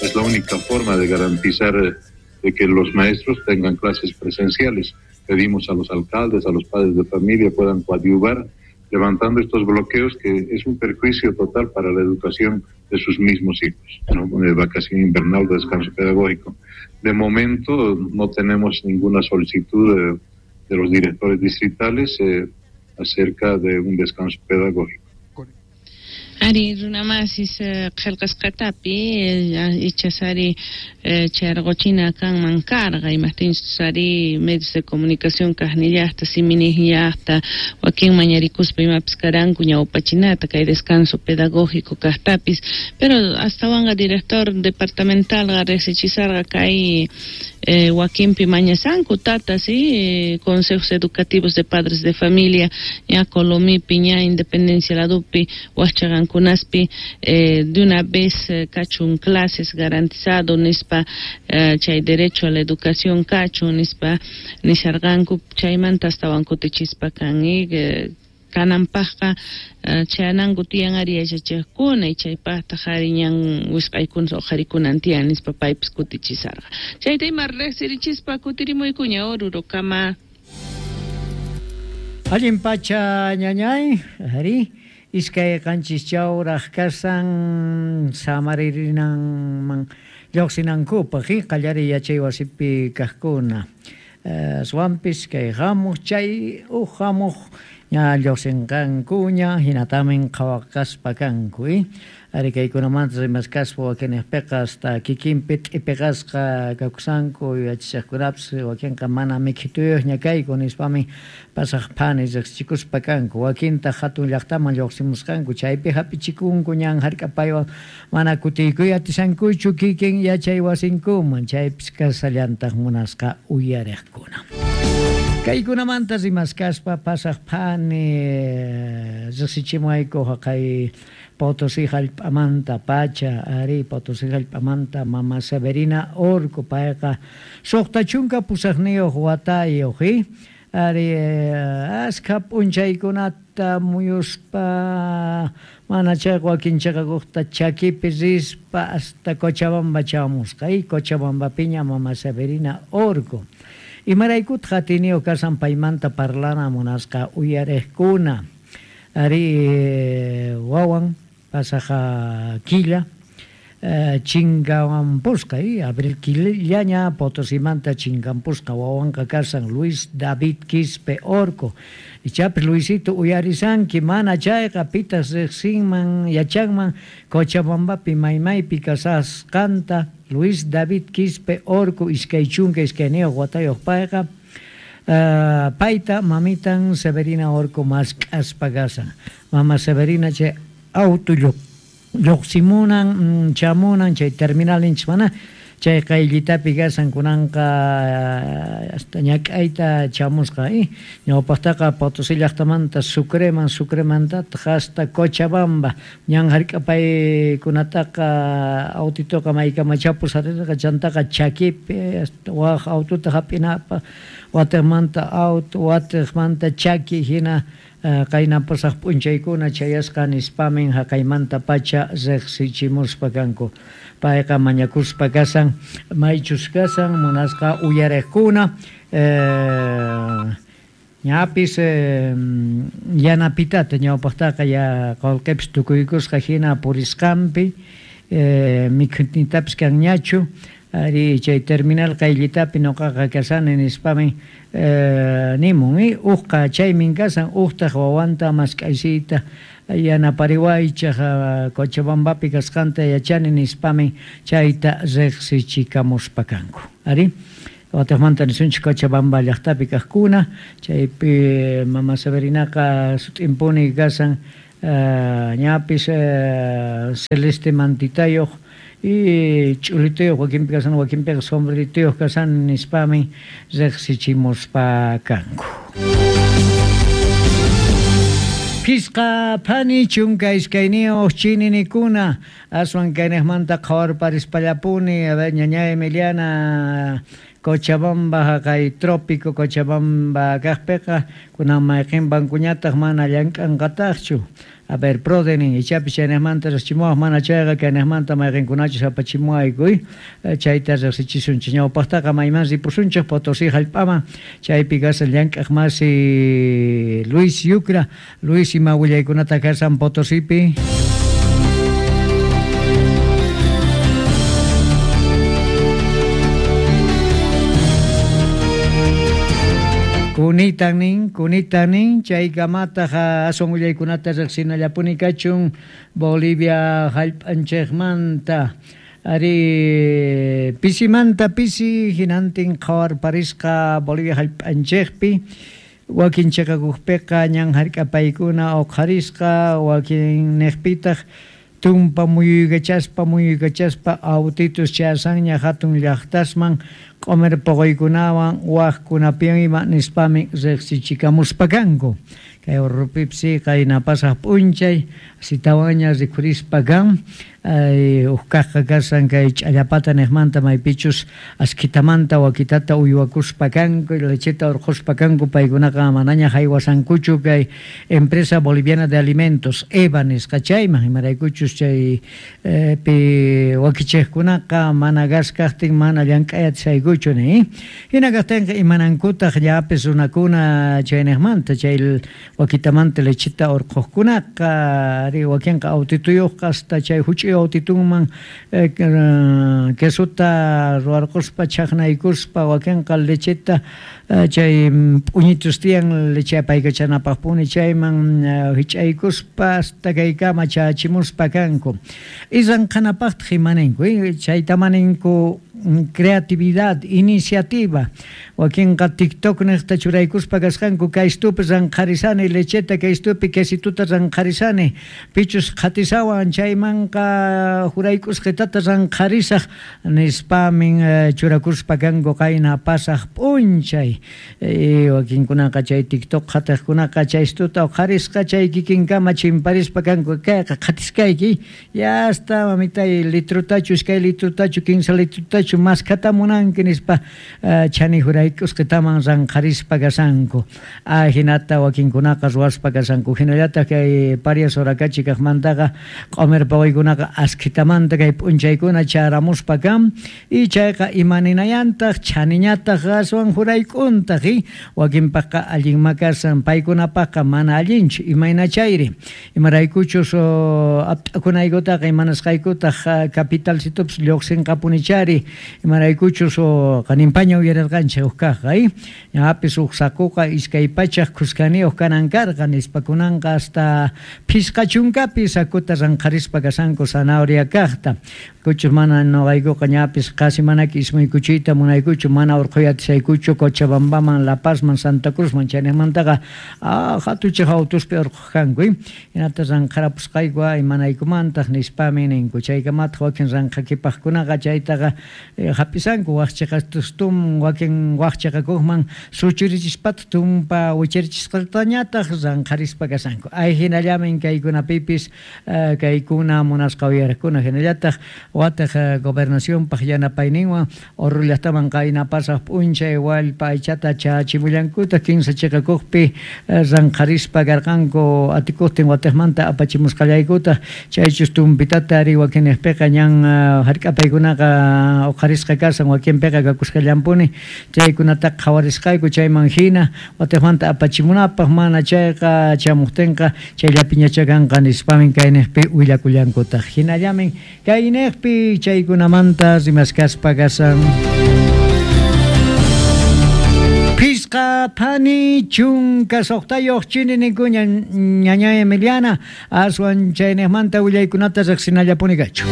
Es la única forma de garantizar de que los maestros tengan clases presenciales. Pedimos a los alcaldes, a los padres de familia puedan coadyuvar levantando estos bloqueos que es un perjuicio total para la educación de sus mismos hijos, ¿no? De vacación invernal, de descanso pedagógico. De momento no tenemos ninguna solicitud de los directores distritales acerca de un descanso pedagógico. Ari runamasis qillqasqatapi ichas ari chayrquchina kanman karqa imajtinchus ari medios de comunicación kaqnillaqta siminiqllaqta wakin mañarikuspa imapis karanku ñawpachinata kay descanso pedagógico kaqtapis pero astawanqa director departamentalqa riqsichisarqa kay wakinpi mañasanku tatas y consejos educativos de padres de familia ña Colomipi ña Independencia ladupi waqchaqankunaspi de una vez kachun clases garantizado nispa chay derecho a la educación kachun nispa nisharqanku chaymanta astawan kutichispa kan kananpaqqa chayananku tiyan ari yachachiqkuna y chaypaqtaq ari ñan wisq'aykuna uqharikunan tiyan nispa paypis kutichisarqa chayta ima riqsirichispa kutirimuykuña Orurokama. Allin pacha ñañay, ari 2 7 chawraq kasan samaririnan lluqsinankupaq qallariy yachay wasipi kaqkuna. Aswanpis kay hamuq chay uj hamuq ña lluqsinqankuña hinatamin qhawaqaspa kanku ari kaykunamanta rimaskaspa wakinniqpiqa hasta kikinpi t'ipiqasqa kakusanku yachachaqkunapis wakinqa mana mikhituyuqña kayku nispami pasaq phani riqsichikuspa kanku wakintaq hatun llaqtaman lluqsimusqanku chaypi hap'ichikunku ñan hark'apaywan mana kutiykuy atishankuchu kikin yachay wasinkuman chaypis kasallantaq munasqa uyariqkuna. Kaykunamanta rimaskaspa pasaq phani riqsichimuwayku haqay Potosí hallp'amanta pacha ari Potosí hallp'amanta mama Severina Orco payqa 68 watayuq ari askha p'unchaykunata muyuspa mana chayqa wakin chiqakuqta chakipi rispa hasta Cochabamba chamusqa Cochabambapiña mama Severina Orco. Imaraykutaq atiniyuq kasan paymanta parlana munasqa uyariqkuna ari wawan pasaqa killa chinkampusqa abril killaña Potosimanta chinkampusqa wawanqa kasan Luis David Quispe Orco ichapis Luisito uyarisanki mana chayqa pitas riqsinman yachanman Cochabambapi maymaypi kasasqanta Luis David Quispe Orco 22 watayuq payqa payta mamitan Severina Orco mask'aspa kasan mama Severina chay auto lluqsimunan chamunan chay terminal ninchik mana chay qayllitapi kasan kunanqa hasta ñak'ayta chamusqa ñawpaqtaqa Potosí llaqtamanta Sucreman Sucremantataq hasta Cochabamba ñan hark'apaykunataqa autitoqa maykamachapus harirqa chantaqa chakipi hasta waq autota hap'inapaq watiqmanta auto watiqmanta chaki hina qayna pasaq p'unchaykuna chayasqa nispamin haqaymanta pacha riqsichimuspa kanku payqa mañakuspa kasan maychus kasan munasqa uyariqkuna ñapis yanapitata ñawpaqtaqa ya qullqipis tukuykusqa hina purisqanpi mikhunitapis kanñachu ari chay terminal qayllitapi ñuqaqa kasani nispamin nimun uqqa chaymin kasan uqtaq wawanta mask'aysiyta yanapariwaychaq Cochabambapi kasqanta yachani nispamin chayta riqsichikamuspa kanku ari watiqmanta nisunchik Cochabamba llaqtapi kaqkuna chaypi mama Severinaqa sut'impuni kasan ñapis celeste mantitayuq y ch'ulituyuq wakinpi kasan wakinpiqa sombrerituyuq kasan nispamin riqsichimuspa kanku. Phisqa phani 12 chininikuna aswan kayniqmanta qhawarparispallapuni a ver ñañay Emiliana Cochabamba haqay trópico Cochabamba kaqpiqa kunan mayqin bankuñataq mana llank'anqataqchu. A ver, Prodenin, ichapis chaynejmanta riqsichimuwaq mana chayqa kaynejmanta mayqinkunachus apachimuwayku chayta riqsichisunchik. Ñawpaqtaqa mayman ripusunchik Potosí hallp'aman, chaypi kashan llank'aq masi Luis Yucra. Luis, ima willaykunata kashan Potosípi? Kunitan nin, kunitan nin, chaykamataq aswan willaykunata riqsinallapuni kachun Bolivia hallp'anchikmanta. Ari pisimanta pisi hinantin qhawarparisqa Bolivia hallp'anchikpi, wakin chiqakuqpiqa ñan hark'apaykuna uqharisqa, wakin niqpitaq tumpa muyuykachaspa muyuykachaspa autitus chasanña hatun llaqtasman q'umir puquykunawan waqkunapiwan ima nispami riqsichikamuspa kanku. Kay Orropipsi qayna pasaq p'unchay asitawanña rikhurispa kan, uj kaqqa kashan kay Ch'allapata niqmanta maypichus askhitamanta wakitata uywakuspa kanku, lecheta urqhuspa kanku, paykunaqa manaña haywasankuchu kay Empresa Boliviana de Alimentos, EBA nisqa chayman, imaraykuchus chay pi wakichiqkunaqa mana gas kaqtin mana llank'ay atisaykuchu ni. Hina kaqtinqa imanankutaq llapis runakuna chayniqmanta chay wakitamanta lecheta urqhuqkunaqa, ari wakinqa autituyuqqa hasta chay huch'uy autitunman quesota ruwarquspa chaqnaykuspa, wakinqa lecheta chay p'uñitus tiyan leche apaykachanapaqpuni chayman hich'aykuspa hasta kaykama chachimuspa kanku. Iranqanapaqtaq imaninku, chayta maninku creatividad, iniciativa. Wakinqa TikTok niqta churaykuspa kasqanku, kaystupi ranqharisani lecheta, kaystupi quesituta ranqharisani, pichus qhatisawan chaymanqa juraykusqitata ranqharisaq nispamin churakuspa kanku qayna pasaq p'unchay. Wakinkunaqa chay TikTok qhatiqkunaqa chaystuta uqharisqa chay kikinkama chimparispa kanku, kayqa qhatiskayki, ya hasta mamitay litrutachu, iskay litrutachu, kinsa litrutachu maskhata munanki nispa chani juraykusqitaman ranqharispa kashanku. Ajinata wakinkunaqa ruwaspa kashanku. Hinallataq kay Parias Orakachi kaqmantaqa q'umir pawaykunaqa askhitamanta kay p'unchaykuna charamuspa kan, y chayqa imaninayantaq chaniñataq aswan jurayk'untaq, wakinpaqqa allinma kashan, paykunapaqqa mana allinchu. Imayna chayri? Imaraykuchus apt'akunaykutaqa imanasqaykutaq capitalcitupis lluqsinqapunichari, imaraykuchus qaninpaña uyarirqanchik huk kaqqa, ñapis huk sakuqa 200 khuskaniyuq kanan karqa nispa, kunanqa hasta 50 sakuta ranqharispa kashanku zanahoria kaqta. Kuchus mana noqaykuqa ñapis qasi manaki ismuykuchiyta munaykuchu, mana urqhuy atisaykuchu Cochabambaman, La Pazman, Santa Cruzman, chayniqmantaqa hatuchej autuspi urqhuq kanku, hinata ranqharapusqayku imanaykumantaq nispami ninku. Chaykamataq wakin ranqhakipaqkunaqa chaytaqa hap'isanku waqchiqatustum, wakin waqchiqakuqman suchurichispataq tumpa wicharichisqatañataq ranqharispa kashanku. Ay hinallamin kaykunapipis kaykuna munasqa uyariqkuna. Hinallataq wataq gobernacionpaq yanapayninwan Oruro llaqtaman qayna pasaq p'unchay wallpa aychata chachimullankutaq 15 chiqakuqpi ranqharispa karqanku atikuqtin watiqmanta apachimusqallaykutaq chaychus tumpitata ari wakinniqpiqa ñan hark'apaykunaqa uqharisqa kashan, wakinpiqa kakusqallanpuni, chaykunataqa qhawarisqayku chayman hina watiqmanta apachimunapaq, mana chayqa chamuqtinqa chayllapiñacha kanqa nispamin kayniqpi willakullankutaq. Hinallamin kayniqpi chaykunamanta rimaskaspa kashan. 56 chinininkuña ñaña Emiliana, aswan chayniqmanta willaykunata riqsinallapuni kachu.